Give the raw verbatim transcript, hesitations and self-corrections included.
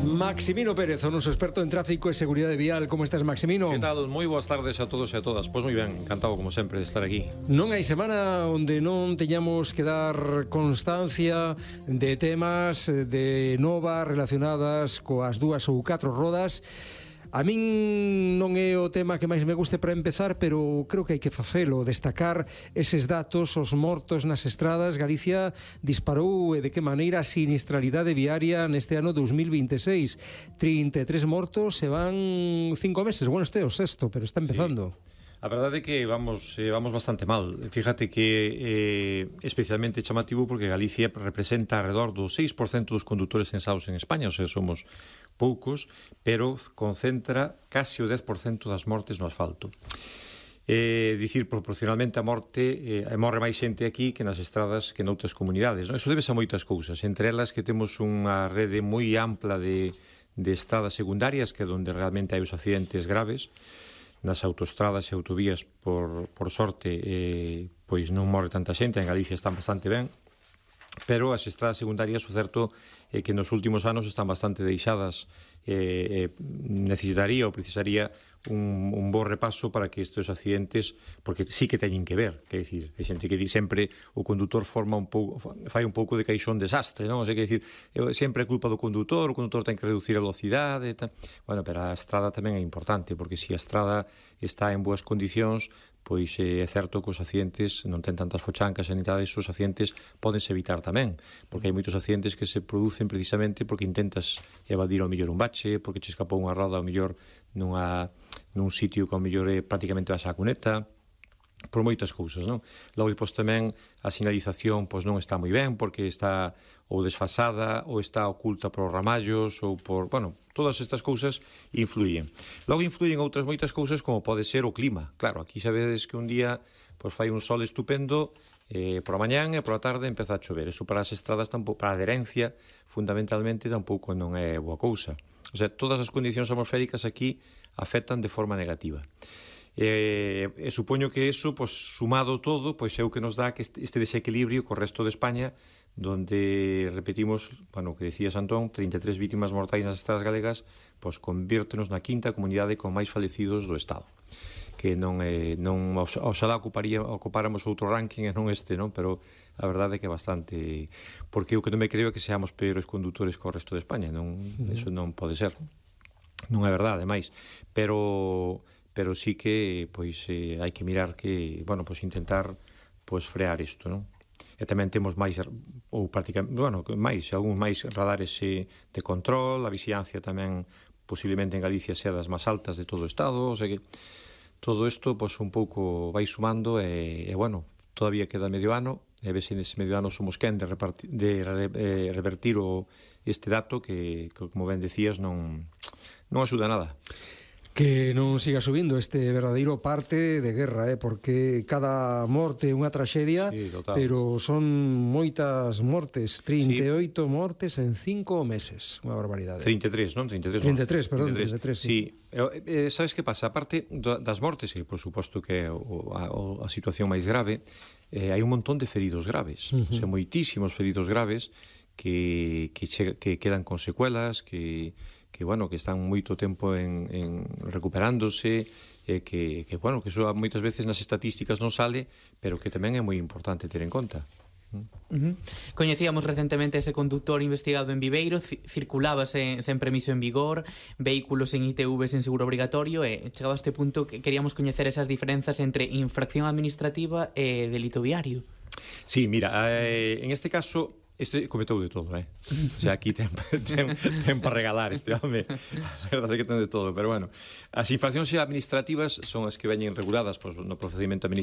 Maximino Pérez, o noso experto en tráfico e seguridade vial. Como estás, Maximino? Que tal? Moi boas tardes a todos e a todas. Pois moi ben, encantado como sempre de estar aquí. Non hai semana onde non teñamos que dar constancia de temas de novas relacionadas coas dúas ou catro rodas. A min non é o tema que máis me guste para empezar, pero creo que hai que facelo, destacar eses datos, os mortos nas estradas. Galicia disparou e de que maneira a sinistralidade viaria neste ano dos mil veintiséis. trinta e tres mortos e van cinco meses. Bueno, este é o sexto, pero está empezando. Sí. A verdade é que vamos, eh, vamos bastante mal. Fíjate que é eh, especialmente chamativo porque Galicia representa alrededor do seis por cento dos condutores censados en España, ou sea, somos poucos, pero concentra casi o dez por cento das mortes no asfalto. É dicir, proporcionalmente a morte eh, morre máis xente aquí que nas estradas que noutras comunidades, non? Eso debe a moitas cousas, entre elas que temos unha rede moi ampla de, de estradas secundarias, que é onde realmente hai os accidentes graves. Nas autostradas e autovías, por, por sorte, eh, pois non morre tanta xente, en Galicia están bastante ben, pero as estradas secundarias, o certo é que nos últimos anos están bastante deixadas. Eh, eh, necesitaría ou precisaría un, un bo repaso para que estes accidentes, porque sí que teñen que ver, que decir, hai xente que di sempre o condutor forma un pouco, fai un pouco de caixón desastre, non? O sea, que decir, sempre é culpa do condutor, o condutor ten que reducir a velocidade, tal. Bueno, pero a estrada tamén é importante, porque se a estrada está en boas condicións, pois é certo que os accidentes non ten tantas fochancas, sanidades, os accidentes pódense evitar tamén, porque hai moitos accidentes que se producen precisamente porque intentas evadir ao mellor un bache, porque che escapou unha roda ao mellor nunha, nun sitio que ao mellor é prácticamente vas á cuneta, por moitas cousas, non? Logo, depois tamén a sinalización pois non está moi ben, porque está ou desfasada, ou está oculta por ramallos, ou por, bueno, todas estas cousas influyen. Logo influyen outras moitas cousas, como pode ser o clima. Claro, aquí sabedes que un día pois fai un sol estupendo, eh, por a mañán e por a tarde empeza a chover. Eso para as estradas, tampouco, para a adherencia, fundamentalmente, tampouco non é boa cousa. O sea, todas as condicións atmosféricas aquí afectan de forma negativa. E, e supoño que eso, pois, sumado todo, pois é o que nos dá que este, este desequilibrio co resto de España, donde, repetimos, bueno, o que decías, Antón, trinta e tres vítimas mortais nas estradas galegas, pois convírtenos na quinta comunidade con máis falecidos do Estado, que non é, non, oxalá ocuparía, ocupáramos outro ranking e non este, non? Pero a verdade é que é bastante, porque o que non me creo é que seamos peores condutores co resto de España, non, uh-huh. Eso non pode ser, non é verdade, máis, pero pero sí que pois eh, hai que mirar que, bueno, pois intentar pois frear isto, non? E tamén temos máis, ou prácticamente, bueno, máis, algúns máis radares eh, de control, a vixiancia tamén posiblemente en Galicia sea das máis altas de todo o Estado, o sea que todo isto pois un pouco vai sumando e, e bueno, todavía queda medio ano, e a ver se nese medio ano somos quen de, repartir, de re, eh, revertir o, este dato que, que, como ben decías, non, non axuda nada. Que non siga subindo este verdadeiro parte de guerra, eh? Porque cada morte é unha traxedia, sí, pero son moitas mortes, trinta e oito sí. Mortes en cinco meses, unha barbaridade. trinta e tres, non? trinta e tres, trinta e tres, perdón, trinta e tres, sí. sí. Eh, sabes que pasa? A parte das mortes, que por suposto que é o, a, a situación máis grave, eh, hai un montón de feridos graves, uh -huh. O sea, moitísimos feridos graves que, que, che, que quedan con secuelas, que que, bueno, que están moito tempo en, en recuperándose, eh, que, que, bueno, que eso moitas veces nas estatísticas non sale, pero que tamén é moi importante ter en conta. Uh-huh. Coñecíamos recentemente ese conductor investigado en Viveiro, circulaba sen, sen permiso en vigor, vehículos en I T V sen seguro obrigatorio, e chegado a este punto que queríamos coñecer esas diferenzas entre infracción administrativa e delito viario. Sí, mira, eh, en este caso este cometou de todo, eh? O sea, aquí ten, ten, ten para regalar este home. A verdade é que ten de todo, pero bueno. As infraccións administrativas son as que veñen reguladas pois, no procedimento administrativo